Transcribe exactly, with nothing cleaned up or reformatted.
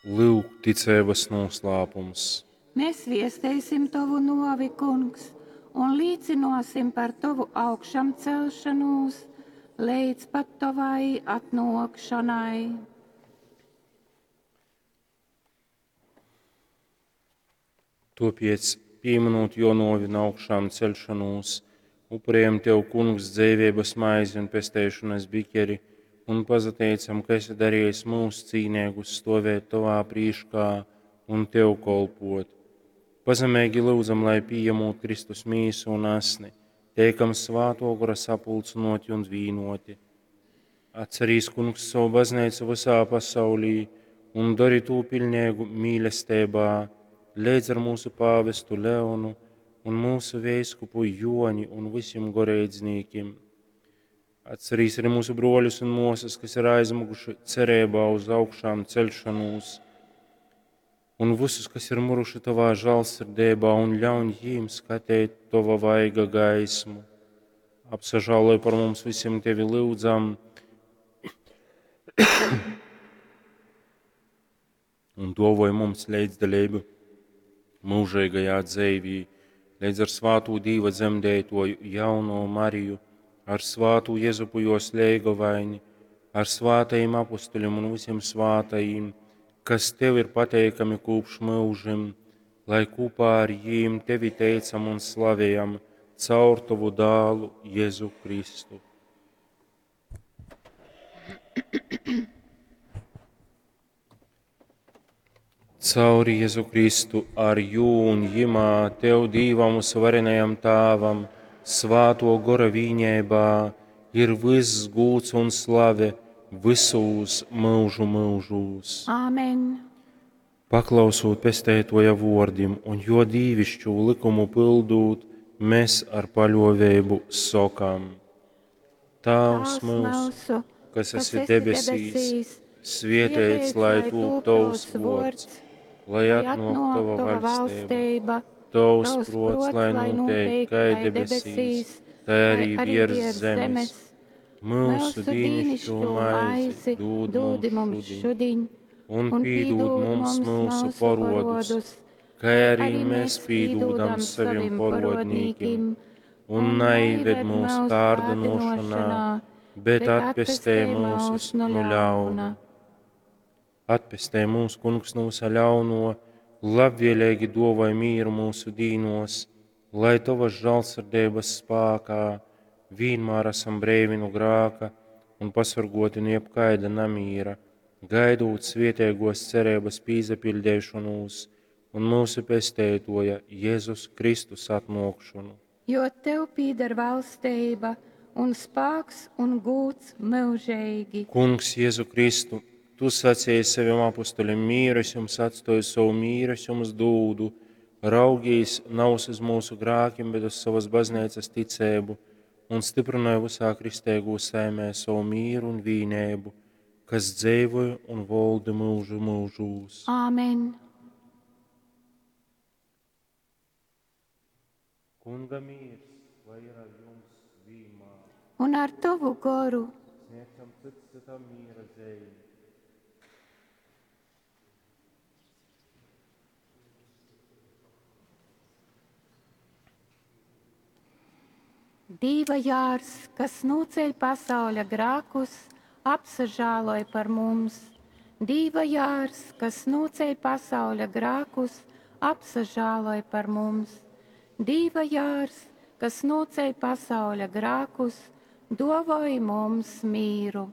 Lyuk, ticeibas nūslāpums. Mēs viesteisim tovu nuovi, Kungs, un līcynuosim par tovu augšamcelšonūs leidz pat tovai atnuokšonai. Tuopiec, pīminūt juo nuovi un augšām ceļšanūs, upurējam Tev, Kungs, dzeiveibas maizi un pesteišonas bikeri, un pasateicam, ka esi darījis mūs cīneigus stovēt Tovā prīškā un Tev kolpot. Pazemeigi lyudzam, lai pījemūt Kristus mīsu un asni, teikam svāto gora sapulcynoti un vīnoti. Atcerīs, Kungs, savu baznīcu visā pasaulī un dari tū piļneigu mīlestībā, leidz ar mūsu pāvestu Leonu un mūsu veiskupu Joni un visiem goreidznīkim. Atcerīs arī mūsu broļus un māsas, kas ir aizmuguši cerībā uz augšām celšanos, un visus, kas ir muruši tavā žālsirdībā, un ļauj jīm skatīt tava vaiga gaismu. Apsažāloj par mums visiem tevi lūdzam, un dovoj mums līdzdalību mūžīgajā dzīvī, līdz ar svātū Dīva dzemdētoju jauno Mariju, ar svātū Jezupu jos leigovaini, ar svātajiem apustuļiem un visiem svātajiem, kas tev ir pateikami kopš mūžim, lai kopā ar jīm tevi teicam un slavējam caur tavu dālu Jēzu Kristu. Cauri Jēzu Kristu, ar jū un jimā, tev Dīvam uzvarenajam Tāvam, svāto gora vīņēbā, ir viss gūts un slave visūs mūžu mūžūs. Āmen! Paklausūt pestētoja vordim un jo dīvišķū likumu pildūt, mēs ar paļovēbu sokam. Tāvs mūsu, kas esi debesīs, svietēts, lai tūp tavs vords, lai atnāk tava vaļstība, tavs prots, lai notiek kai debesīs, tai arī virs zemes. Mūsu dīnišķo maizi dūd mums šodien, un pīdūd mums mūsu porodus, kā arī mēs pīdūdam saviem porodnīkim, un neived mūsu kārdinošanā, bet atpestē mūsus no ļauna. Atpestē mūs, Kungs, no visa ļauno, labvēlīgi dovai mīru mūsu dīnos, lai tavas žālsirdības spākā vienmēr esam breivi no grāka un pasargoti no jebkaida namīra, gaidot svietēgos cerības pīzapildēšanos un mūsu pestētoja Jēzus Kristus atnākšanu. Jo tev pīder valstība un spāks un gūts mūžīgi. Kungs, Jēzu Kristu, tu sacīji saviem apustuļiem, mīru es jums atstoju savu mīru, es jums dūdu, raugīs nav uz mūsu grākiem, bet uz savas baznīcas ticēbu, un stiprināja visā kristēgo saimē savu mīru un vīnēbu, kas dzēvoja un volda mūžu mūžūs. Āmen! Kunga mīrs, lai ir ar jums vienmēr. Un ar tavu goru. Sniedzam cits citam mīra dzēju. Dīva jārs, kas nūceļ pasauļa grākus, apsažāloj par mums. Dīva jārs, kas nūceļ pasauļa grākus, apsažāloj par mums. Dīva jārs, kas nūceļ pasauļa grākus, dovoj mums mīru.